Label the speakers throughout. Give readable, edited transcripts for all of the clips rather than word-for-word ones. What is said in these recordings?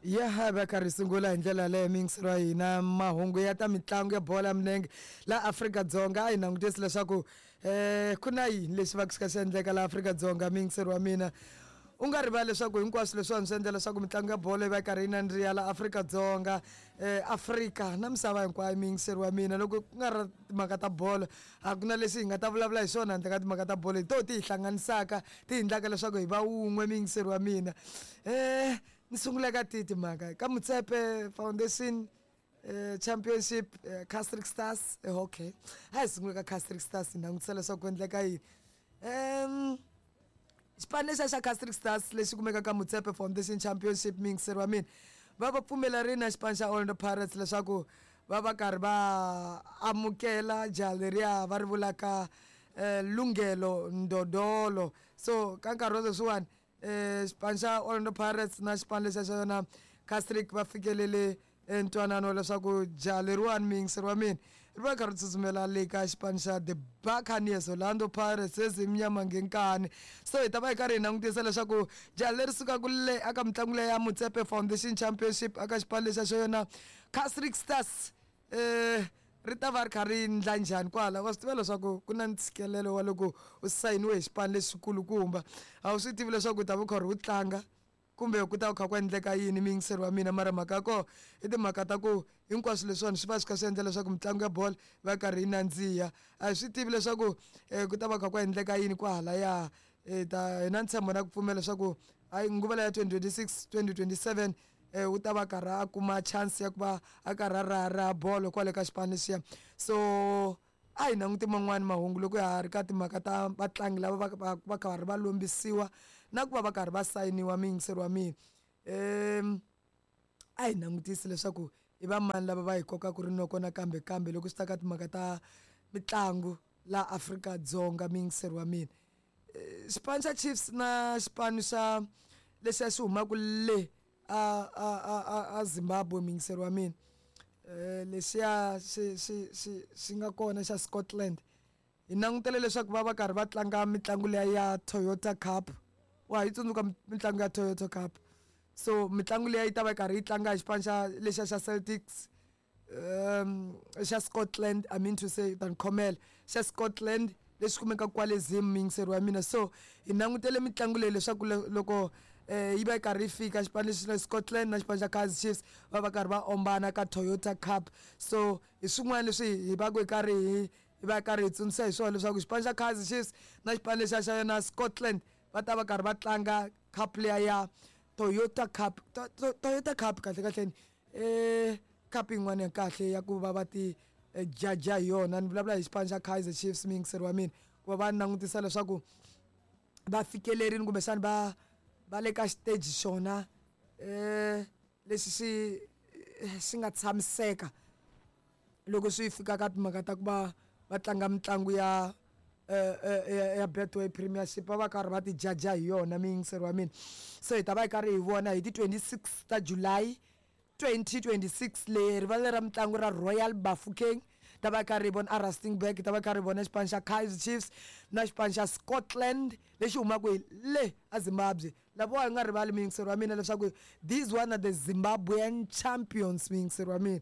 Speaker 1: Ya ha va karhi sungula hi ndlela yaleyo miyingiselo ya hina mahungu ya ta mitlangu ya bolo ya milenge laha Afrika-Dzonga. A hi langutisi leswaku ku na yini lexi va ku xi kha xi endleka laha Afrika-Dzonga. Miyingiselo wa mina, u nga rivali leswaku hinkwaswo leswiwani swi endla leswaku mitlangu ya bolo yi va yi karhi yi nandziha laha Afrika-Dzonga, Afrika na misava hinkwayo. Miyingiselo wa mina, loko ku nga ri timhaka ta bolo, a ku na lexi hi nga ta vulavula hi swona handle ka timhaka ta bolo. Hi toho ti hi hlanganisaka, ti hi endlaka leswaku hi va wun'we. Miyingiselo wa mina, ni sungula ka tihi timhaka? Ka Motsepe Foundation Championship, Casric Stars. Okay, a hi sungula ka Casric Stars, hi langutisa leswaku ku endleka yini. Xipano lexiya xa Casric Stars lexi kumekaka ka Motsepe Foundation Championship, miyingiseri wa mina, va va pfumelerile na xipano xa Orlando Pirates leswaku va va karhi va amukela jaha leriya va ri vulaka Lunghelo Ndodolo. So ka nkarhi wa sweswiwani, xipano xa Orlando Pirates na xipano lexiya xa yona Casric va fikelele ntwanano wa leswaku jaha leriwani, muyingiseri wa mina, ri va kha ri tsutsumela le ka xipano xa The Buccaneers, Orlando Pirates ezimnyama ngenkani. So hi ta va hi karhi hi langutisa leswaku jaha leri sukaka le aka mitlangu leya ya Motsepe Foundation Championship aka xipano lexiya xa yona Casric Stars, ri ta va ri kha ri ndla njhani kwala. Wa swi tiva leswaku ku na ntshikelelo wa loko u sayiniwe hi xipano lexikulukumba, a wu swi tivi leswaku u ta va u karhi u tlanga kumbe ku ta ku kha ku endleka yini, miyingiseri wa mina. Mara mhaka ya kona i timhaka ta ku hinkwaswo leswiwani swi va swi kha swi endla leswaku mitlangu ya bolo va karhi yi nandziha. A hi swi tivi leswaku ku ta va kha ku endleka yini kwahalaya. Ta hi na ntshembo na ku pfumela leswaku hayi, nguva leya 2026 2027, u ta va karhi a kuma chance ya ku va a karhi a raharaha bolo kwale ka xipano lexiya. So a hi languti man'wani mahungu loko ha ha ri ka timhaka ta vatlangi lava va karhi va lombisiwa na ku va va karhi va sayiniwa. Muyingiseri wa mina, a hi langutisi leswaku i va mani lava va hi kokaka rinoko nakambe kambe loko swi ta ka timhaka ta mitlangu laha Afrika-Dzonga. Muyingiseri wa mina, xipano xa Chiefs na xipano xa lexiya xi humaka le a Zimbabwe, muyingiseri wa mina, lexiya xi nga kona xa Scotland, hi langutele leswaku va va karhi va tlanga mitlangu liya ya Toyota Cup. Wa yi tsundzuka mitlangu ya Toyota Cup? So mitlangu liya yi ta va yi karhi yi tlanga hi xipano xa lexiya xa Celtics, xa Scotland, I mean to say, ta ni khomela, xa Scotland lexi kumekaka kwale Zim, muyingiseri wa mina. So hi langutele mitlangu leyi leswaku loko yi va yi karhi yi fika, xipano lexi xa Scotland na xipano xa Kaizer Chiefs va va karhi va ombana ka Toyota Cup. So hi swin'wana leswi hi va ku hi karhi hi va karhi hi tsundzuxa hi swona leswaku xipano xa Kaizer Chiefs na xipano lexiya xa yona Scotland va ta va karhi va tlanga cup liya ya Toyota Cup. Toyota Cup kahle kahleni cup yin'wana ya kahle ya ku va va ti jaja hi yona. Ni vulavula hi xipano xa Kaizer Chiefs, muyingiseri wa mina, ku va va langutisa leswaku va fikelerile kumbexana va le ka xiteji xona lexi xi nga tshamiseka loko swi fika ka timhaka ta ku va va tlanga mitlangu ya Betway Premiership, va va karhi va ti jaja hi yona, muyingiseri wa mina. So hi ta va hi karhi hi vona hi ti 26 ta July 2026 le rivala ra mitlangu ra Royal Bafokeng. Ta va karhi hi vona a Rustenburg, ta va karhi hi vona xipano xa Kaizer Chiefs na xipano xa Scotland lexi humaka hi le a Zimbabwe. Lavawa hi nga rivali, muyingiseri wa mina, leswaku these one are the Zimbabwean champions, muyingiseri wa mina.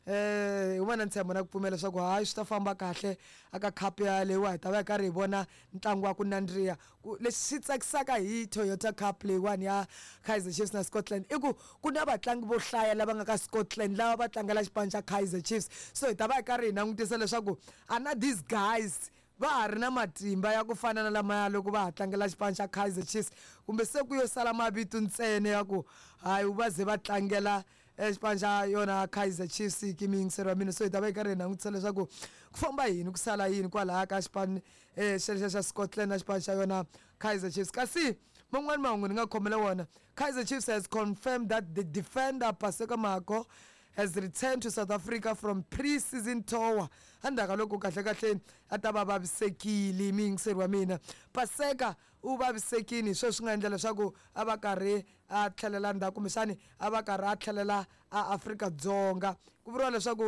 Speaker 1: Hi va na ntshembo na ku pfumela leswaku hayi, swi ta famba kahle aka cup ya leyiwa. Hi ta va hi karhi hi vona ntlangu wa ku nandziha. Ku lexi xi tsakisaka hi Toyota Cup leyiwani ya Kaizer Chiefs na Scotland i ku ku na vatlangi vo hlaya lava nga ka Scotland lava va tlangela xipano xa Kaizer Chiefs. So hi ta va hi karhi hi langutisa leswaku ana these guys va ha ri na matimba ya ku fana na lamaya loko va ha tlangela xipano xa Kaizer Chiefs, kumbe se ku yo sala mavito ntsena ya ku hayi, va ze va tlangela xipano xa yona Kaizer Chiefs ki, muyingiseri wa mina. So hi ta va hi karhi hi langutisa leswaku ku famba yini, ku sala yini kwalaya ka xipano xexo xa Scotland na xipano xa yona Kaizer Chiefs. Kasi man'wani mahungu ni nga khomela wona, Kaizer Chiefs has confirmed that the defender Paseka Mako has returned to South Africa from pre-season tour endzhaku ka loko kahle kahleni a ta va vavisekile. Muyingiseri wa mina, Paseka u vavisekile, hi sweswi swi nga endla leswaku a va karhi a tlhelela ndzhaku, kumbexani a va karhi a tlhelela a Afrika-Dzonga. Ku vuriwa leswaku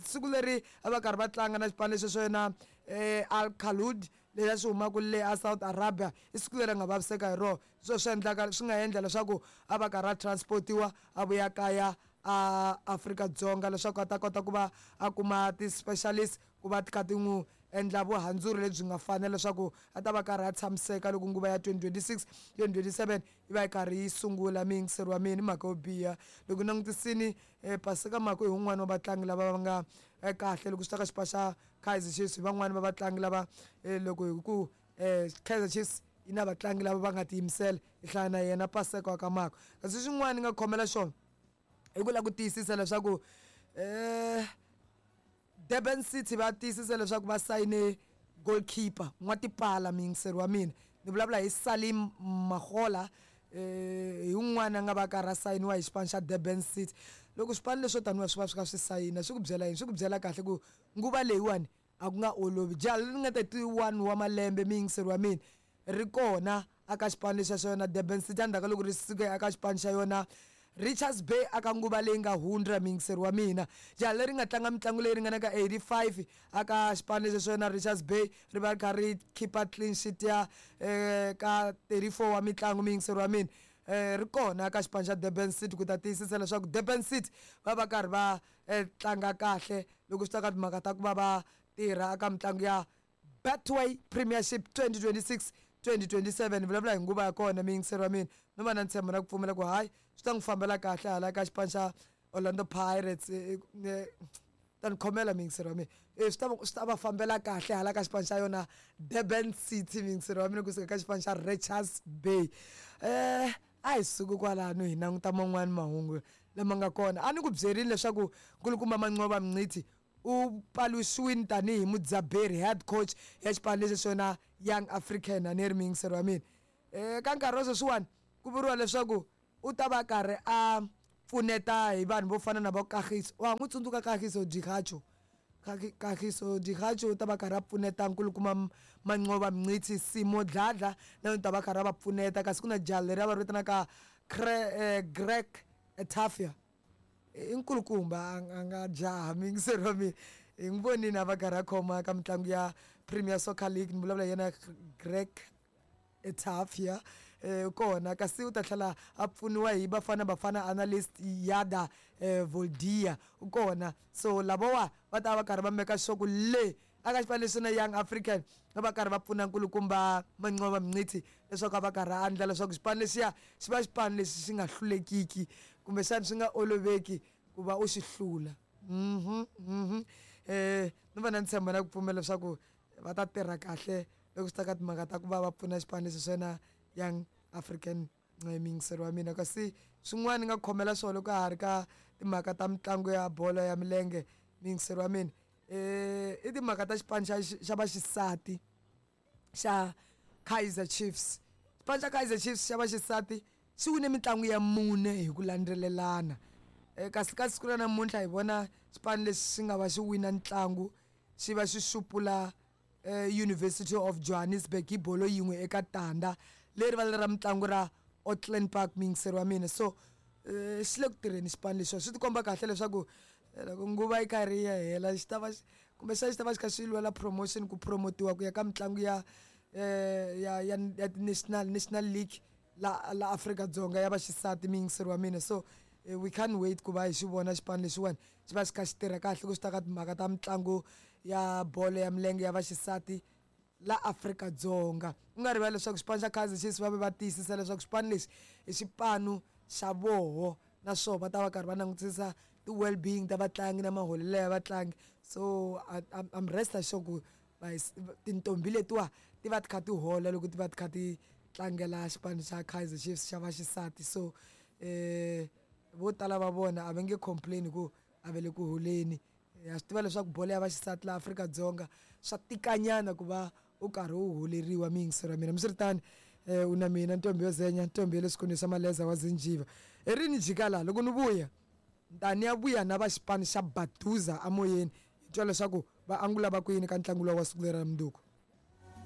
Speaker 1: siku leri a va karhi va tlanga na xipano lexi xo yena Al Khalud. Lexi xi humaka le a South Arabia i siku leri a nga vaviseka hi rona. Hi swona swi endlaka swi nga endla leswaku a va karhi a transport-iwa a vuya kaya a Afrika-Dzonga leswaku a ta kota ku va a kuma ti-specialist ku va ti kha ti n'wi endla vuhandzuri lebyi nga fanela leswaku a ta va karhi a tshamiseka loko nguva ya 2026 2027 yi va yi karhi yi sungula. Muyingiseri wa mina i mhaka yo biha loko langutisini Paseka Mako hi wun'wani wa vatlangi lava va nga kahle loko swi ta ka xipachi xa Kaizer Chiefs hi van'wani va vatlangi lava loko hi ku Kaizer Chiefs yi na vatlangi lava va nga tiyimisela hi hlaya na yena Paseka wa ka Mako kasi xin'wana ni nga khomela xona i ku lava ku tiyisisa leswaku Durban City va tiyisisa leswaku va sayine goalkeeper n'watipala muyingiseri wa mina ni vulavula hi Salim Magola hi wun'wana a nga va karhi a sayiniwa hi xipano xa Durban City loko swipano leswo taniwa swi va swi kha swi sayina swi ku byela yini swi ku byela kahle ku nguva leyiwani a ku nga olovi jaha leri nga 31 wa malembe muyingiseri wa mina ri kona aka xipano lexa xa yona Durban City endzhaku ka loko ri suke aka xipano xa yona Richards Bay aka nguva leyi nga hundza muyingiseri wa mina jaha leri nga tlanga mitlangu leyi ringanaka 85 aka xipano lexa xa yona Richards Bay ri va ri kha ri khipa clean sheet ya ka 34 wa mitlangu muyingiseri wa mina ri kona ka xipano xa Durban City ku ta tiyisisa leswaku Durban City va va karhi va tlanga kahle loko swi ta ka timhaka ta ku va va tirha aka mitlangu ya Betway Premiership 2026 2027 ni vulavula hi nguva ya kona muyingiseri wa mina no va na ntshembo na ku pfumela ku hayi swi ta n'wi fambela kahle hala ka xipano xa Orlando Pirates ta ni khomela muyingiseri wa mina swi ta swi ta va fambela kahle hala ka xipano xa yona Durban City muyingiseri wa mina kusuka ka xipano xa Richards Bay a hi suki kwalano hi languta man'wani mahungu lama nga kona a ni ku byerini leswaku nkulukumba Manqoba Mngqithi u paluxiwile tanihi mudzaberi head coach ya xipano lexi xona Young African a ni ri muyingiseri wa mina ka nkarhi wa sweswiwani ku vuriwa leswaku u ta va karhi a pfuneta hi vanhu vo fana na vo Kagiso wa ha n'wi tsundzuka Kagiso Dikgaco Kagiso Dikgaco u ta va karhi a pfuneta nkulukumba Manqoba Mngqithi Simo Dladla na yena u ta va karhi a va pfuneta kasi ku na jaha leri va ri vitanaka Greg Etafia i nkulukumba a nga jaha muyingiseri wa mina hi n'wi vonile a va karhi a khoma ka mitlangu ya Premier Soccer League ni vulavula hi yena Greg Etafia kona kasi u ta tlhela a pfuniwa hi Bafana Bafana analyst Yada Voldia u kona so lavawa va ta va karhi va meka sure ku le aka xipano lexi na Young African va va karhi va pfuna nkulukumba Manqoba Mngqithi leswaku a va karhi a endla leswaku xipano lexiya xi va xipano lexi xi nga hlulekiki kumbexana swi nga oloveki ku va u xi hlula ni va na ntshembo na ku pfumela leswaku va ta tirha kahle loko swi ta ka timhaka ta ku va va pfuna xipano lexi swa yena Young African muyingiseri wa mina kasi swin'wana ni nga khomela swona loko ka ha ri ka timhaka ta mitlangu ya bolo ya milenge muyingiseri wa mina i timhaka ta xipano xa xa vaxisati xa Kaizer Chiefs xipano xa Kaizer Chiefs xa vaxisati xi wine mitlangu ya mune hi ku landzelelana kasi ka siku ra namuntlha hi vona xipano lexi xi nga va xi wina ntlangu xi va xi xupula University of Johannesburg hi bolo yin'we eka tandza leri va ra mitlangu ra Auckland Park muyingiseri wa mina so xi le ku tirheni xipano lexiwa swi tikomba kahle leswaku loko nguva yi karhi yi ya hela xi ta va kumbexana xi ta va xi kha xi lwela promotion ku promotiwa ku ya ka mitlangu ya ya ya ya ti-national national league la la Afrika-Dzonga ya vaxisati muyingiseri wa mina so we can't wait ku va hi xi vona xipano lexiwani xi va xi kha xi tirha kahle ku swi ta ka timhaka ta mitlangu ya bolo ya milenge ya vaxisati la Afrika-Dzonga u nga rivali leswaku xipano xa Kaizer Chiefs va ve va tiyisisa leswaku xipano lexi i xipano xa voho naswona va ta va karhi va langutisisa ti-well being ta vatlangi na maholelo ya vatlangi so I'm rest assured ku tintombi letiwa ti va ti kha ti hola loko ti va ti kha ti tlangela xipano xa Kaizer Chiefs xa vaxisati so vo tala va vona a va nge complain ku a va le ku holeni ha swi tiva leswaku bolo ya vaxisati laha Afrika-Dzonga swa tikanyana ku va u karhi u holeriwa muyingiseri wa mina hambiswiritano u na mina ntombi yo zenya ntombi ya le swikolweni swa maleza wa zinjiva i rini jika laha loko ni vuya ni ta ni ya vuya na va xipano xa Baduza amoyeni hi twa leswaku va angula va ku yini ka ntlangu lowu wa siku leri ra mundzuku.